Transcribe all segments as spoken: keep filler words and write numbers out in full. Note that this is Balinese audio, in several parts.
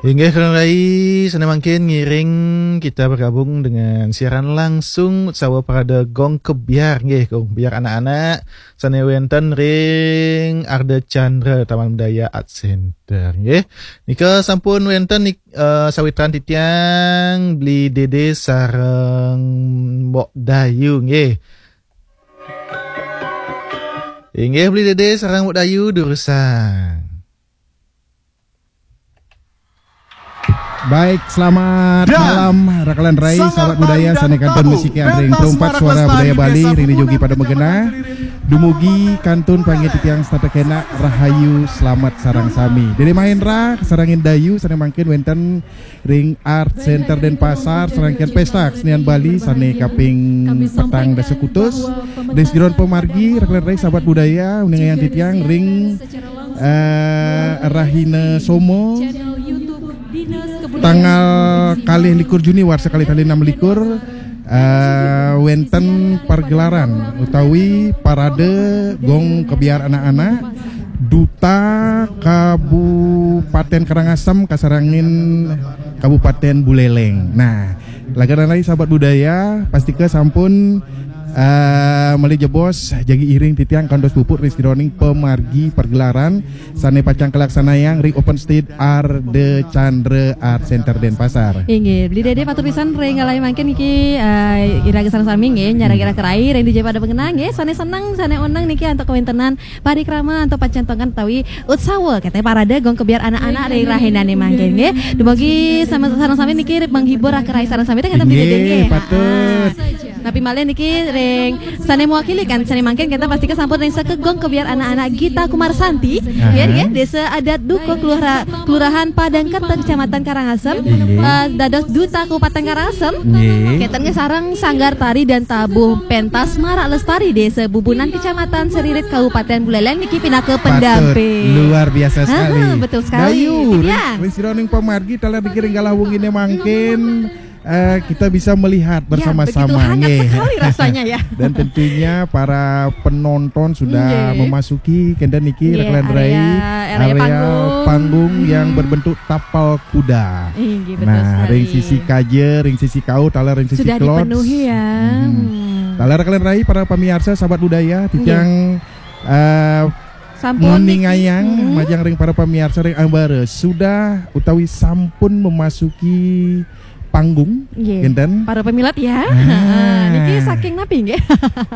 Inggih, Kang Rai, sané mangkin ngiring kita bergabung dengan siaran langsung Utsawa Parade Gong Kebyar, nggih, Gong Kebyar anak-anak, sané wénten ring Ardha Candra Taman Budaya Art Center, nggih. Nika sampun wénten nik-, eh, sawitran titiang Bli Dede sareng Mbok Dayu, nggih. Inggih, Bli Dede sareng Mbok Dayu durusang. Baik, selamat malam, Rakelan Rai, sahabat budaya, sané kantun musik yang ring perumpat suara budaya Bali, ring jogi pada megena. Dumugi kantun panggih titiang setata kena rahayu, selamat sareng sami. Dede Mahendra, sareng Dayu, sané mangkin wénten ring Art Center Denpasar, serangkaian Pesta Kesenian Bali, sané kaping petang dasa kutus. Ring sajeroning pamargi, Rakelan Rai, sahabat budaya, uningayang titiang ring eh, Rahina Somo, tanggal kalih likur Juni warsa kalih tali enam likur, eh, wénten pergelaran utawi parade gong kebyar anak-anak Duta Kabupaten Karangasem kasarengin Kabupaten Buleleng. Nah, Rakelan Rai, sahabat budaya, pastika sampun eh, malih jebos jagi iring titiang kantos puput ring sajeroning pamargi pergelaran sané pacang kalaksanayang ring Open Stage Ardha Candra Art Center Denpasar. Inggih, Bli Dede, patut pisan ring kalih mangkin niki, eh, iraga sareng sami nggih, nyarengin Rakelan Rai ring dija pada megena nggih, sané seneng, sané oneng niki antuk kawéntenan parikrama antuk pacentongan utawi utsawa, kéto parade gong kebyar anak-anak ring rahinané mangkin nggih. Dumugi sami sareng sami niki menghibur Rakelan Rai sareng sami, ten kénten, Bli Dede, nggih. Inggih, patut. Napi malih niki ring sané mewakili kan, sané mangkin kita pastika sampun ring saking gong kebyar anak-anak Gita Kumarsanti, nggih, nggih, Désa Adat Dukuh, Kelura-, Kelurahan Padang Kerta, Kecamatan Karangasem, eh, dados Duta Kabupaten Karangasem. Nggih. Kénten nggih sareng Sanggar Tari dan Tabuh Pentas Marak Lestari Désa Bubunan, Kecamatan Seririt, Kabupaten Buleleng niki pinaka pendamping. Patut. Luar biasa sekali. Aha, betul sekali. Dayu, ring sajeroning pamargi taler niki ring galah wenginé mangkin, eh, kita bisa melihat bersama-sama, begitu hangat nggih, sekali rasanya, ya. Dan tentunya para penonton sudah memasuki kénten niki, Rakelan Rai, area, area panggung yang berbentuk tapal kuda. Inggih, betul sekali. Nah, ring sisi kaja, ring sisi kaur, taler ring sisi sudah dipenuhi, ya. Hmm. Taler, Rakelan Rai, para pamiarsa, sahabat budaya, titiang, eh, sampun nguningayang, niki, majeng ring para pamiarsa ring ambara sudah utawi sampun memasuki panggung, nggih, kénten. Para pamilet, ya. Nah. Niki saking napi, nggih?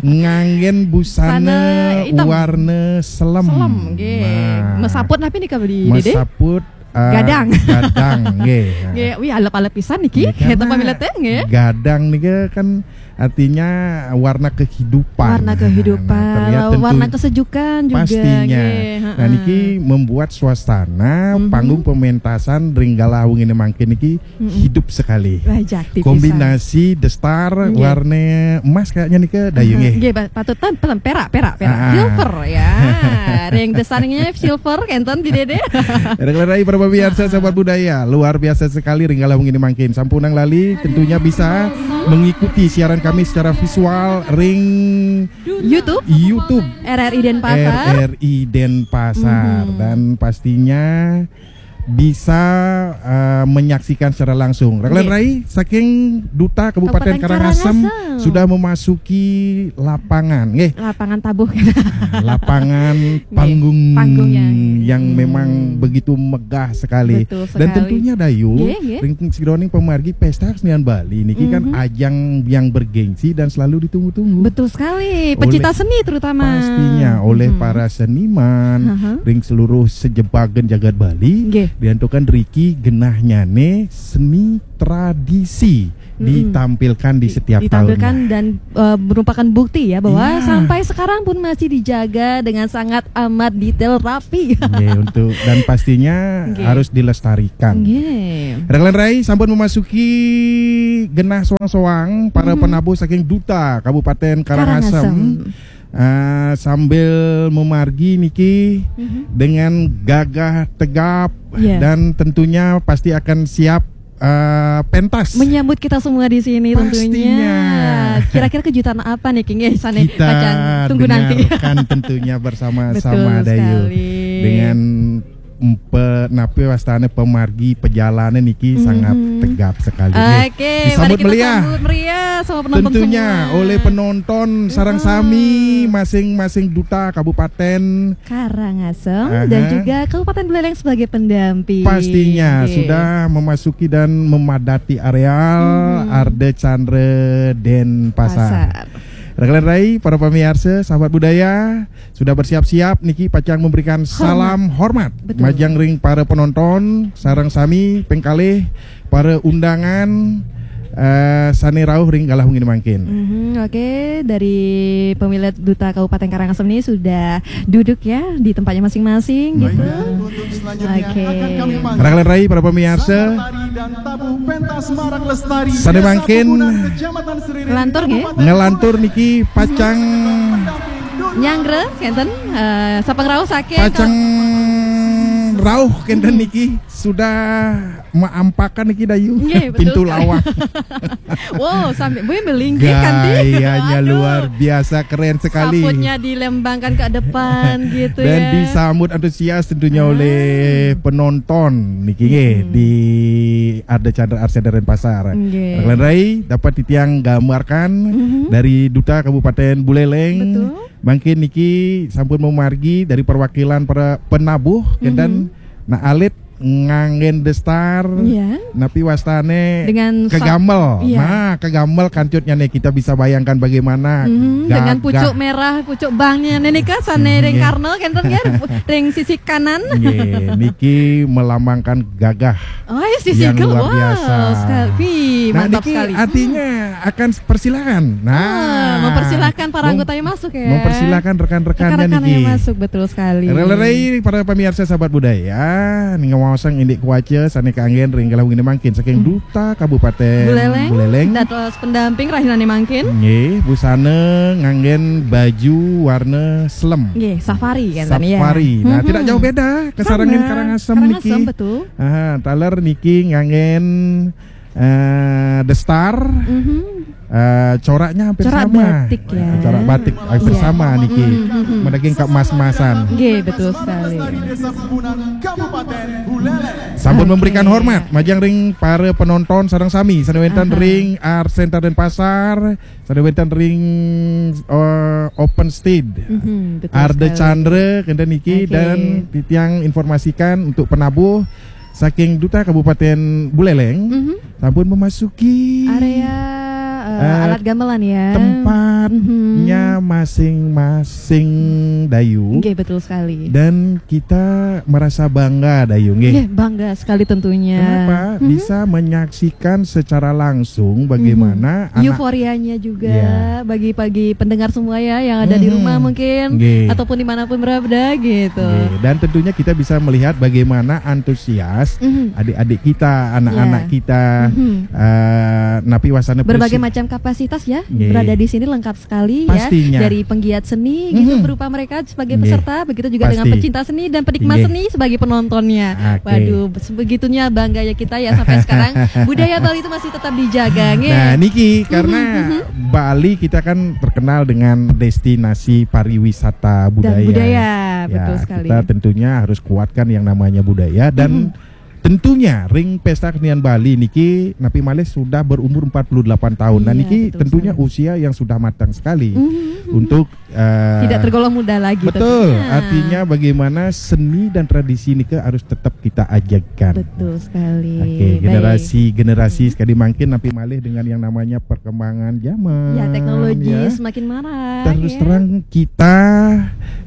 Nganggén busana warna selem. Selem, nggih. Nah. Mesaput napi nika, Bli Dede? Mesaput, eh, gadang. Gadang, nggih. Nggih, wih, alep-alep pisan niki. Nggih, kénten, karena pamilet, nggih. Gadang nika kan artinya warna kehidupan. Warna kehidupan, nah, terlihat tentu warna kesejukan juga, pastinya, nggih, nah, heeh, niki membuat suasana panggung pementasan ring galah wenginé mangkin niki hidup sekali. Wah, jakti pisan. Kombinasi The Star, nggih, warna emas kayaknya nika, Dayu, nggih. Nggih, ba-, patut ten-, ten-, perak, perak, perak. Ah. Silver, ya. Ring The Star-nya silver, kénten, Bli Dede. Rakelan Rai, para pamiarsa, sahabat budaya, luar biasa sekali ring galah wenginé mangkin. Sampunang lali, tentunya bisa mengikuti siaran kami secara visual ring YouTube. YouTube. R R I Denpasar. R R I Denpasar. Mhm. Dan pastinya bisa, eh, menyaksikan secara langsung. Rakelan Rai, saking Duta Kabupaten Karangasem sudah memasuki lapangan, nggih. Lapangan tabuh. Lapangan panggung yang memang begitu megah sekali. Betul sekali. Dan tentunya, Dayu, nggih, nggih, ring sajeroning pamargi Pesta Kesenian Bali niki kan ajang yang bergengsi dan selalu ditunggu-tunggu. Betul sekali. Pecinta seni terutama. Pastinya, oleh para seniman, ring seluruh sejebagan jagat Bali, nggih, diantukan riki genahnyané seni tradisi ditampilkan di setiap tahunnya. Ditampilkan dan, eh, merupakan bukti, ya, bahwa sampai sekarang pun masih dijaga dengan sangat amat detail, rapi. Nggih, untuk, dan pastinya harus dilestarikan. Nggih. Rakelan Rai, sampun memasuki genah soang-soang para penabuh saking Duta Kabupaten Karangasem. Karangasem. Eh, sambil memargi niki dengan gagah tegap dan tentunya pasti akan siap, eh, pentas. Menyambut kita semua di sini tentunya. Pastinya. Kira-kira kejutan apa nih, King? Eh, sana kita pacang tunggu nanti. Kita dengarkan tentunya bersama-sama, Dayu. Betul sekali. Dengan pe, napi wastane pemargi pejalane niki sangat tegap sekali. Nggih. Oke, disambut meriah. Disambut meriah sama penonton semua. Tentunya oleh penonton sareng sami, masing-masing duta Kabupaten Karangasem dan juga Kabupaten Buleleng sebagai pendamping. Pastinya sudah memasuki dan memadati areal Arde Chandra Denpasar. Pasar. Rekan-rekan rai, para pemirsa, sahabat budaya, sudah bersiap-siap niki pacang memberikan salam hormat. Betul. Majeng ring para penonton, sareng sami pengkalih para undangan eh, sane rauh ring galah wengi mangkin. Mhm, oke, dari pemilik Duta Kabupaten Karangasem ini sudah duduk ya di tempatnya masing-masing gitu. Oke. Rekan-rekan rai, para pemirsa, sane mangkin ngelantur nggih? Ngelantur niki pacang nyanggra kenten, eh, sapangrauh saking pacang rauh kenten niki sudah maampakan niki Dayu. Nggih, betul sekali. Pintu lawang. Wow, sampai gue melinggih kan, Ti? Gayanya luar biasa, keren sekali. Saputnya dilembangkan ke depan gitu. Dan ya, disambut antusias tentunya oleh penonton niki nggih di Arde Chandra Art Center Denpasar. Nggih. Rekan-rekan rai, dapat titiang gambarkan dari Duta Kabupaten Buleleng. Betul. Mangkin niki sampun memargi dari perwakilan para penabuh, kenten, nah, alit nganggen destar, napi wastane, dengan sa-, kegamel. Iya. Nah, kegamel kancutnya nih, kita bisa bayangkan bagaimana dengan pucuk merah, pucuk bangnya nih, nika sane ring karnel kenten ya, ring sisi kanan. Nggih, niki melambangkan gagah. Oh, ya, sisi yang luar biasa. Wow, sekali. Wih, nah, mantap niki sekali. Artinya akan persilakan. Nah, mempersilakan para anggotanya masuk ya. Mempersilakan rekan-rekannya niki. Rekan-rekannya masuk, betul sekali. Rekan-rekan rai, para pemirsa sahabat budaya, ning ngawaosang indik kuaca sane kanggen ring galah wengi mangkin saking Duta Kabupaten Buleleng. Buleleng. Dados pendamping rahinane mangkin. Nggih, busana nganggen baju warna selem. Nggih, safari kan tadi ya. Safari. Nah, tidak jauh beda kasarengin Karangasem niki. Karangasem, betul. Aha, taler niki nganggen eh, destar. Eh, coraknya hampir sama. Corak batik ya. Eh, corak batik hampir sama niki. Madaging kemas-masan. Nggih, betul sekali. Sampun memberikan hormat majeng ring para penonton sareng sami sane wenten ring Art Center Denpasar, sane wenten ring eh, open stage. Arde Chandra kenten niki dan titiang informasikan untuk penabuh saking Duta Kabupaten Buleleng sampun memasuki area eh, alat gamelan ya. Tempatnya masing-masing, Dayu. Nggih, betul sekali. Dan kita merasa bangga, Dayu, nggih. Nggih, bangga sekali tentunya. Kenapa? Bisa menyaksikan secara langsung bagaimana anak euforianya juga bagi, bagi pendengar semua ya yang ada di rumah mungkin ataupun dimanapun berada gitu. Nggih. Dan tentunya kita bisa melihat bagaimana antusias adik-adik kita, anak-anak kita, eh, napi wasana berbagai macam kapasitas ya, berada di sini lengkap sekali ya. Pastinya. Dari penggiat seni gitu berupa mereka sebagai peserta, begitu juga dengan pecinta seni dan penikmat seni sebagai penontonnya. Oke. Waduh, sebegitunya bangganya kita ya sampai sekarang budaya Bali itu masih tetap dijaga, nggih. Nah, niki karena Bali kita kan terkenal dengan destinasi pariwisata budaya. Dan budaya, ya, betul sekali. Kita tentunya harus kuatkan yang namanya budaya dan tentunya ring Pesta Kesenian Bali niki napi malih sudah berumur empat puluh delapan tahun. Nah, niki tentunya usia yang sudah matang sekali untuk eh, tidak tergolong muda lagi. Betul. Tentunya. Artinya bagaimana seni dan tradisi nika harus tetap kita ajakkan. Betul sekali. Oke, generasi-generasi sekali mangkin napi malih dengan yang namanya perkembangan zaman. Ya, teknologi semakin marah. Terus terang kita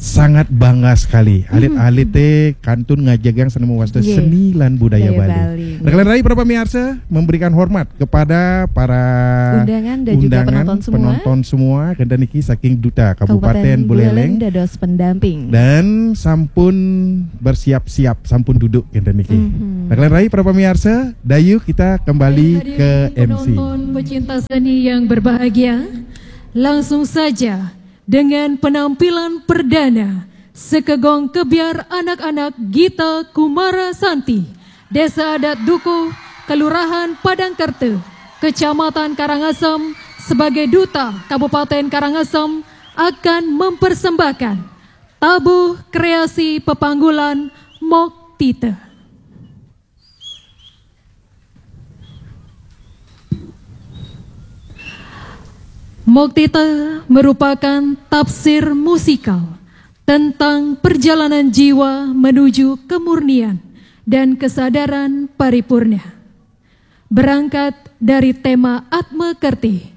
sangat bangga sekali. Alit-alite kantun ngajegang seni mawasta seni lan budaya Bali. Rekan-rekan rai, para pemirsa, memberikan hormat kepada para undangan dan juga penonton semua. Penonton semua, kenten niki saking Duta Kabupaten Buleleng dados pendamping. Dan sampun bersiap-siap, sampun duduk kenten niki. Rekan-rekan rai, para pemirsa, Dayu kita kembali ke M C. Penonton pecinta seni yang berbahagia, langsung saja dengan penampilan perdana sekegong kebyar anak-anak Gita Kumara Santi, Desa Adat Dukuh, Kelurahan Padangkerta, Kecamatan Karangasem, sebagai duta Kabupaten Karangasem akan mempersembahkan tabuh kreasi pepanggulan Mok Moktita. Moktita merupakan tafsir musikal tentang perjalanan jiwa menuju kemurnian dan kesadaran paripurna. Berangkat dari tema Atma Kerti,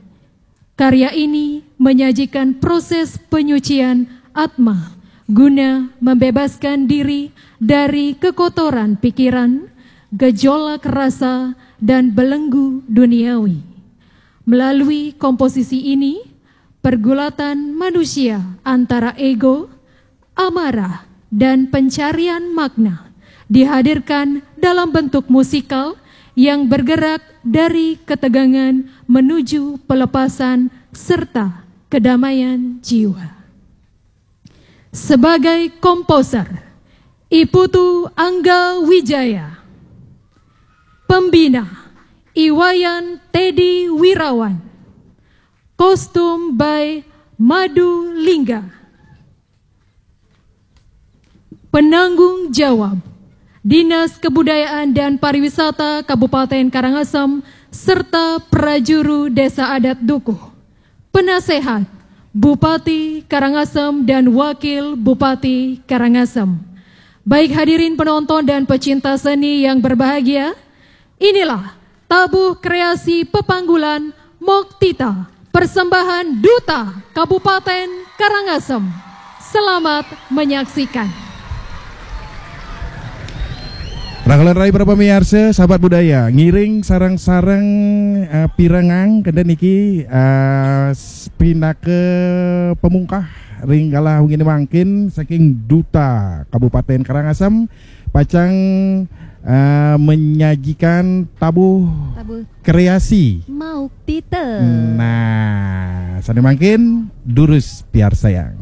karya ini menyajikan proses penyucian Atma guna membebaskan diri dari kekotoran pikiran, gejolak rasa, dan belenggu duniawi. Melalui komposisi ini, pergulatan manusia antara ego, amarah, dan pencarian makna dihadirkan dalam bentuk musikal yang bergerak dari ketegangan menuju pelepasan serta kedamaian jiwa. Sebagai komposer, I Putu Angga Wijaya. Pembina, I Wayan Teddy Wirawan. Kostum by Madu Lingga. Penanggung jawab, Dinas Kebudayaan dan Pariwisata Kabupaten Karangasem serta prajuru Desa Adat Dukuh. Penasehat, Bupati Karangasem dan Wakil Bupati Karangasem. Baik hadirin penonton dan pecinta seni yang berbahagia, inilah tabuh kreasi pepanggulan Moktita, persembahan Duta Kabupaten Karangasem. Selamat menyaksikan. Rahulén rayi para pamiarsa, sahabat budaya, ngiring sareng-sareng eh, pirengang kénten niki eh, s- pinaka pamungkah ring galah wenginé mangkin saking Duta Kabupaten Karangasem pacang eh, menyajikan tabuh Tabuh kreasi. Moktita. Nah, sané mangkin durus piarsayang.